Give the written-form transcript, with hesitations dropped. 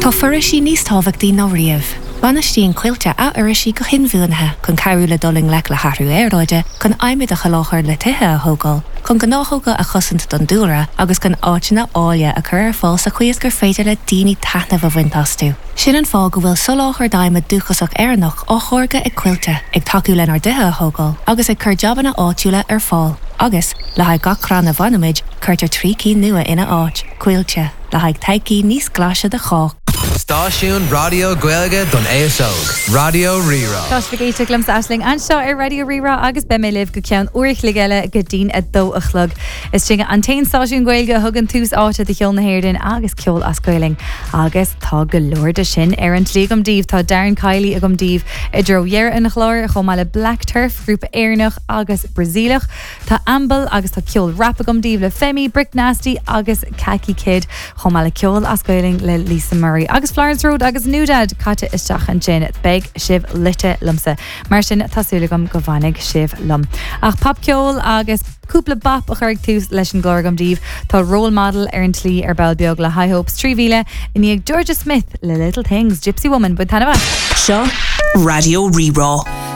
Tá foraoisí níos tábhachtaí ná riamh. Bainistíonn Coillte a bhforaoisí go hinbhuanaithe chun cabhrú le dul i ngleic le hathrú aeráide, chun adhmad a sholáthar le tithe a thógáil, chun gnáthóga a chosaint don dúlra agus chun áiteanna áille a chur ar fáil sa chaoi is gur féidir le daoine taitneamh a bhaint astu. Sin an fáth go bhfuil soláthar d'adhmad dúchasach Éireannach á tháirgeadh ag Coillte, ag tacú lenár dtithe a thógáil agus ag cur jabanna áitiúla ar fáil. Agus, le haghaidh gach crann a bhainimid, cuirtear 3 cinn nua ina áit. Coillte, le haghaidh todhchaí níos glaise do chách. Stáisiún raidió Gaeilge don aos óg, Raidió Rí-Rá. Tá sibh ag éisteacht liomsa Aisling anseo ar Raidió Rí-Rá agus beidh mé libh go ceann uair a chloig eile go dtí'n 2 a chlog. Is sinne an t-aon stáisiún Gaeilge a thugann tús áite do cheol na hÉireann agus ceol as Gaelainn agus tá go leor de sin ar an tslí agam daoibh. Tá Darren Kiely agam daoibh i dtreo dheireadh an chláir chomh maith le Black Turf, grúpa Éireannach agus Brasaíleach. Tá Ambal agus tá ceol rap agam daoibh le Femi, Brick Nasty agus Khaki Kid, chomh maith le ceol as Gaelainn le Lisa Murray agus Florence Road agus NewDad caite isteach ansin. Beidh sibh luite liomsa. Mar sin tá súil agam go bhfanfaidh sibh liom. Ach popcheol agus cúpla bap a chuirfidh tús leis an gclár agam daoibh. Tá Role Model ar an tslí ar ball beag le High Hopes 3000 i ndiaidh Georgia Smith le Little Things, Gypsy Woman. Bain taitneamh as! Seo Raidió Rí-Rá.